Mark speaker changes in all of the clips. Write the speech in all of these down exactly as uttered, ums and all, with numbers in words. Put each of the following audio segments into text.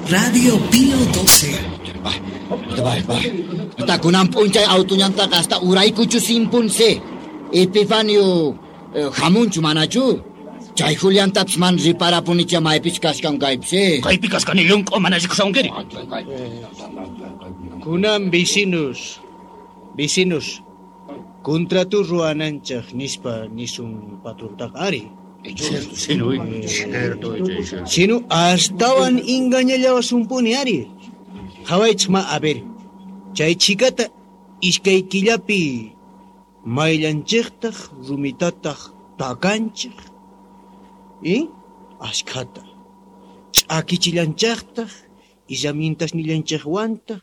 Speaker 1: Radio Pío doce.
Speaker 2: Kunan p'unchay autuñantaqa hasta uraykuchu simpunse. Epifanio hamunchu manachu. Chay Juliantapis man riparapunicha maypich kashkan kaypis.
Speaker 3: Kaypi kashkani llunk'u mana rikushawankiri.
Speaker 4: Kunan vecinos, vecinos, contrato ruwananchaq nispa nisun patrontaqa ari. Sino astawan engañallawasumpuni ari. Qhawaychik ma a ver, chay chikata iskay killapi mayllanchiqtaq rumitataq takanchik. ¿Eh? Ashkhata. Ch'akichillanchaqtaq, illamintasnillanchaqwantaq,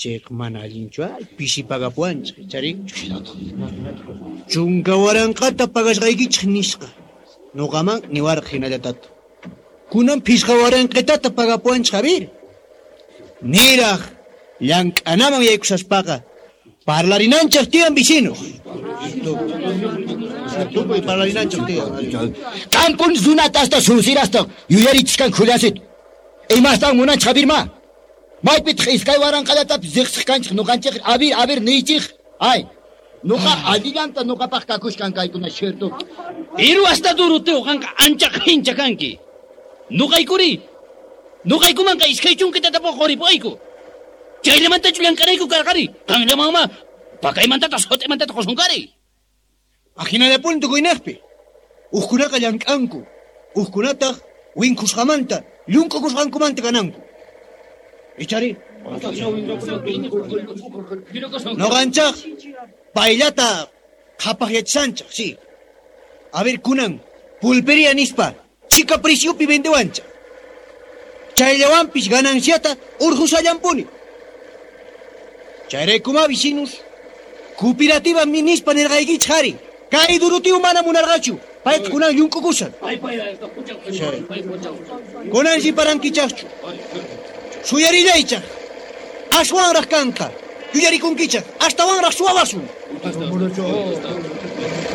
Speaker 4: chayqa mana allinchu ay, pisi pagapuwanchik, chari. Chunka waranqata pagasqaykichik nisqa. Nuqaman niwarqa hinallatata. Kunan phisqa waranqitata pagapuwanchik, a ver. Niraq llank'anaman yaykusaspaqa parlarinanchik tiyan vecinos. Tukuy parlarinanchik tiyan.
Speaker 2: Kampun runata hasta sunsirasta yuyarichiskan Juliancito. Imastan munanchik Javirma? Maypitaq iskay waranqallatapis riqsiq kanchik nuqanchik abir abir niychik. Ay, nuqa allillanta nuqapaq kakushkan kaykuna cierto.
Speaker 3: Pero hasta Doroteo qanqa ancha qhincha kanki. Nuqaykuri. Nuqaykumanqa iskay chunkitata quripuyku. Chayllamantachu llank'anayku karqari. Qanllamanma pakaymantataq sut'imantataq qusunkari.
Speaker 4: Ajinallapuni tukuynaqpi. Uqkunaqa llank'anku. Uqkunataq winkusqamanta, llunk'ukusqankumanta kananku. Ichari. Nuqanchaq payllata qhapaqyachishanchaq, sí. A ver, kunan, pulpería nispa, chika preciopi vendewanchaq. Chayllawanpis gananciata urqushallampuni. Chayraykuma vecinos, cooperativa nispa nirqaykichik ari. Kay Doroteo mana munarqachu, payqa kunan llunk'ukushan. Kunan riparankichaqchu. Suyarillaychaq. Aswanraq kanqa. Yuyarikunkichaq. Astawanraq suwawasun.